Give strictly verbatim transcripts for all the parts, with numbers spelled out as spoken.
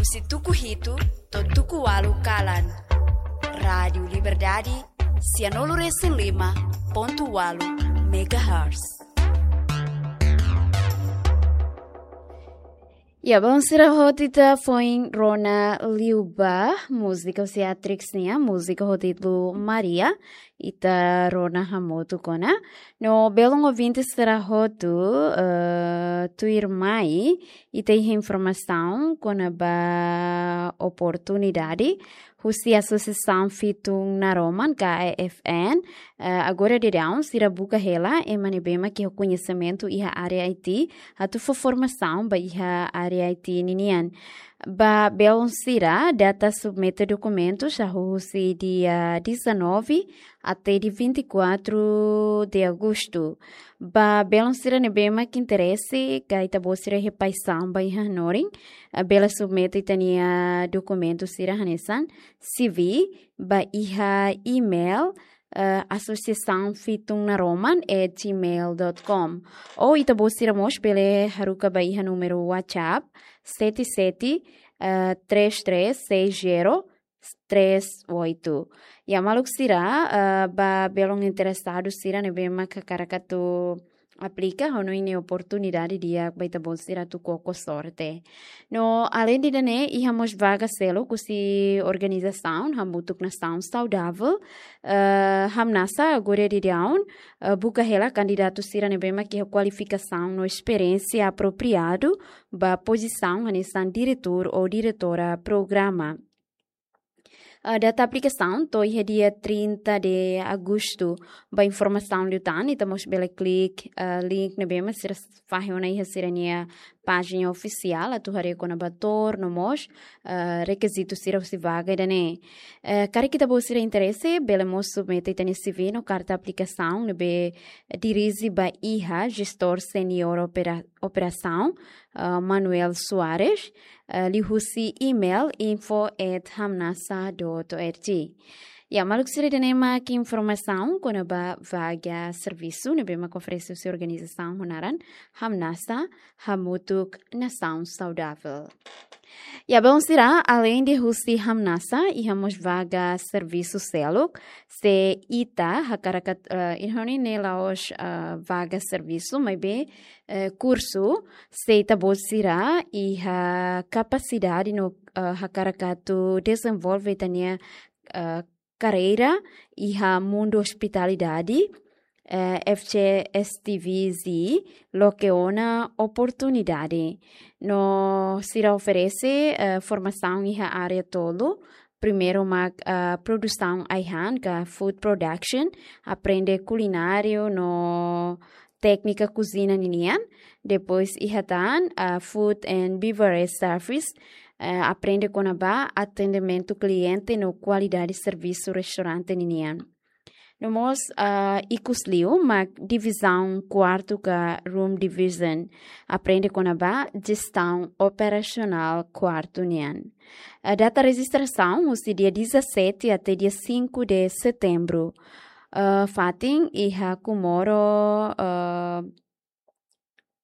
Husi tuku hitu to'o tuku ualu kalan. Rádiu Liberdade, sianulu resin lima pontu ualu megahertz. Ya, bom, sira hotu ita foin rona liubá múzika husi Atrix nian, múzika ho títulu Maria, ita rona hamutuk ona. No belun ouvinte sira hotu, eh, tuirmai, ita iha informasaun kona-ba oportunidade husi Asosiasaun Fitun Naroman, ka A F N, eh, agora daudaun sira buka hela ema ne'ebé mak iha koñesimentu iha área I T, atu fó formasaun ba iha área I T ninian. Ba belun sira, data submete dokumentus hahú husi dia dezanove até dia vinte e quatro de agosto. Ba belun sira ne'ebé mak interese, ka ita-boot sira iha paixaun ba iha hanorin, eh, bele submete ita-nia dokumentu sira hanesan C V ba iha email, eh, asosiasaun fitun naroman at gmail dot com. Ou ita-boot sira mós bele haruka ba iha númeru WhatsApp sete sete, eh, três três seis zero três oito. Ya, maluk sira, eh, ba belun interesadu sira ne'ebé mak hakarak atu aplika, hanoin ne'e oportunidade di'ak ba ita-boot sira atu koko sorte. No, aleinde ida-ne'e, iha mós vaga seluk husi organizasaun Hamutuk Nasaun Saudavel, eh, Hamnasa, agora daudaun, eh, buka hela kandidatu sira ne'ebé mak iha kualifikasaun no esperiénsia apropriadu ba pozisaun hanesan diretór ou diretora programa. Ah, data aplikasaun to'o iha dia trinta de agosto. Ba informasaun liután, ita mós bele klik, ah, link ne'ebé mak sira fahe ona iha sira-nia pájina ofisiál, atu haree kona-ba tour no mós, ah, rekizitu sira husi vaga ida-ne'e. Eh, karik ita-boot sira interese, bele mós submete ita-nia C V no karta aplikasaun ne'ebé dirije ba iha Jestór Seniór Opera-, Operasaun, ah, Manuel Soares, eh, liuhusi email info at hamnasa dot org. Ya, maluk sira, ida-ne'e mak informasaun kona-ba vaga servisu ne'ebé mak oferese husi organizasaun ho naran Hamnasa, Hamutuk Nasaun Saudavel. Ya, belun sira, aleinde husi Hamnasa, iha mós vaga servisu seluk, se ita hakarak atu, eh, hanoin ne'e la'ós, eh, vaga servisu, maibé, eh, kursu, se ita-boot sira iha kapasidade no, eh, hakarak atu dezenvolve ita-nia, eh, karreira iha mundu ospitalidade, eh, F C S T V Z loke ona oportunidade. No sira oferese, eh, formasaun iha área tolu, primeiru mak, ah, produsaun ai-han ka food production, aprende kulináriu no téknika kuzina ninian. Depois iha tan, ah, food and beverage service, eh, aprende kona-ba atendimentu kliente no kualidade servisu restaurante ninian. No mós, ah, ikusliu mak divizaun kuartu ka room division, aprende kona-ba jestaun operasionál kuartu nian. Eh, data rejistrasaun husi dia dezassete até dia cinco de setembro. Eh, fatin iha Comoro, eh,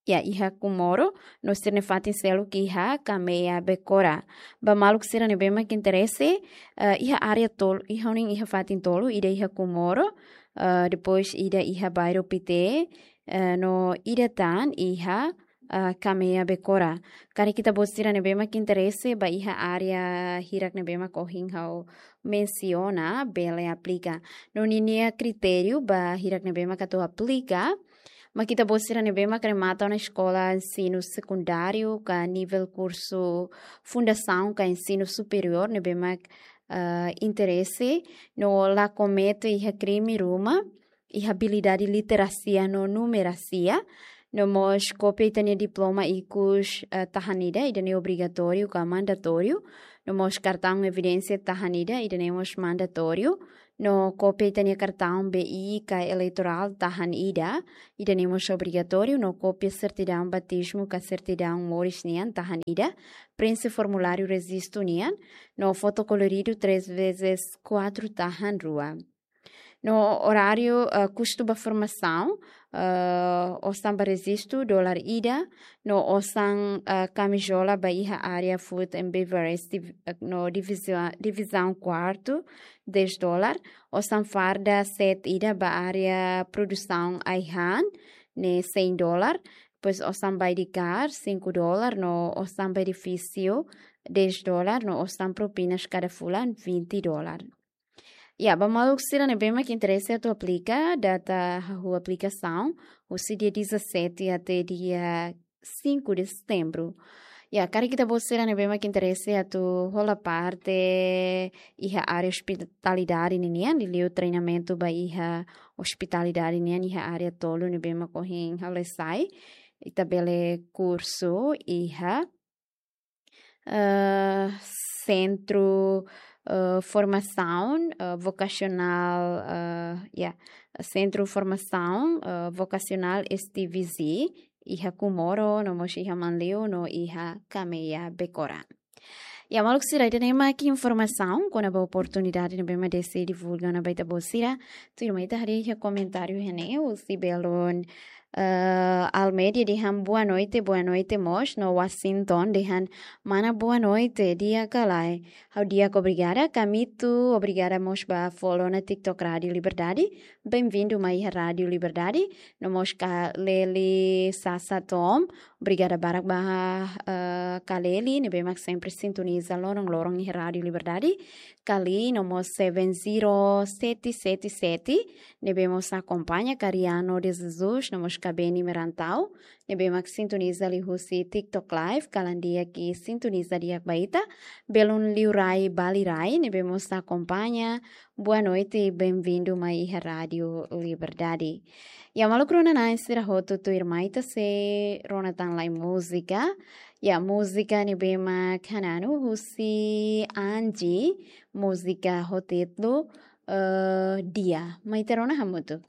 ya, iha Comoro, no sira-nia fatin seluk iha Kamea Bekora. Ba maluk sira ne'ebé mak interese, eh, iha área tolu, iha hanoin iha fatin tolu, ida iha Comoro, eh, depois ida iha bairru Pité, eh, no ida tan iha, eh, Kamea Bekora. Karik ita-boot sira ne'ebé mak interese ba iha área hirak ne'ebé mak ohin ha'u mensiona, bele aplika. No ninia kritériu ba hirak ne'ebé mak atu aplika, mak ita-boot sira ne'ebé mak remata ona eskola ensinu sekundáriu ka nivel kursu fundasaun ka ensinu superiór ne'ebé mak, eh, interese, no la komete iha krime ruma, iha abilidade literasia no numerasia, no mós kópia ita-nia diploma ikus, eh, tahan ida, ida-ne'e obrigatóriu ka mandatóriu, no mós kartaun evidénsia tahan ida, ida-ne'e mós mandatóriu, no kópia ita-nia kartaun B I ka eleitorál tahan ida, ida-ne'e mós obrigatóriu, no kópia sertidaun batizmu ka sertidaun moris nian tahan ida, prenxe formuláriu rejistu nian, no foto koloridu três vezes quatro tahan rua. No oráriu, eh, kustu ba formasaun, eh, osan ba rejistu dolar ida, no osan, eh, kamizola ba iha área food and beverage div-, eh, no divizua-, divizaun kuartu, dez dolar, osan farda set ida ba área produsaun ai-han, ne'e cem dolar, depois osan ba edikar, cinco dolar, no osan ba edifísiu, dez dolar, no osan propinas kada fulan, vinte dolar. Ya, ba maluk sira ne'ebé mak interese atu aplika, data hahú aplikasaun, husi dia dezassete até dia cinco de setembro. Ya, karik ita-boot sira ne'ebé mak interese atu hola parte iha área ospitalidade ninian, liuliu treinamentu ba iha ospitalidade nian iha área tolu ne'ebé mak ohin halo sai, ita bele kursu iha, eh, Sentru, eh, Formasaun, eh, Vokasionál, eh, ya, Sentru Formasaun, eh, Vokasionál S T V Z, iha Comoro, no mós iha Manleu, no iha Cameia Becora. Ya, maluk sira, ida-ne'e mak informasaun kona-ba oportunidade ne'ebé mak Desi divulga ona ba ita-boot sira. Tuirmai ita haree iha komentáriu iha ne'e, husi belun, eh, Almeida dehan boa noite, boa noite mós, no Washington dehan mana boa noite, di'ak ka lae. Ha'u di'ak, obrigada, Kamito, obrigada mós ba follow ona TikTok Rádio Liberdade. Bem-vindo mai iha Rádio Liberdade. No mós Kaleli Sasa Tom, obrigada barak ba, eh, Kaleli, ne'ebé mak sempre sintoniza loron-loron iha Rádio Liberdade. Kali, no mós seven zero sete sete sete, ne'ebé mós akompaña Kariano de Jesus, no mós Kabeni Merantau, ne'ebé mak sintoniza liuhusi TikTok Live, kalan di'ak i sintoniza di'ak ba ita. Belun Liurai Balirai, ne'ebé mós akompaña, boa noite, bem-vindo mai iha Rádio Liberdade. Ya, maluk rona-na'in sira hotu, tuirmai ita sei rona tan lai múzika. Ya, múzika ne'ebé mak hananu husi Angie, múzika ho títulu, eh, Dia. Mai ita rona hamutuk.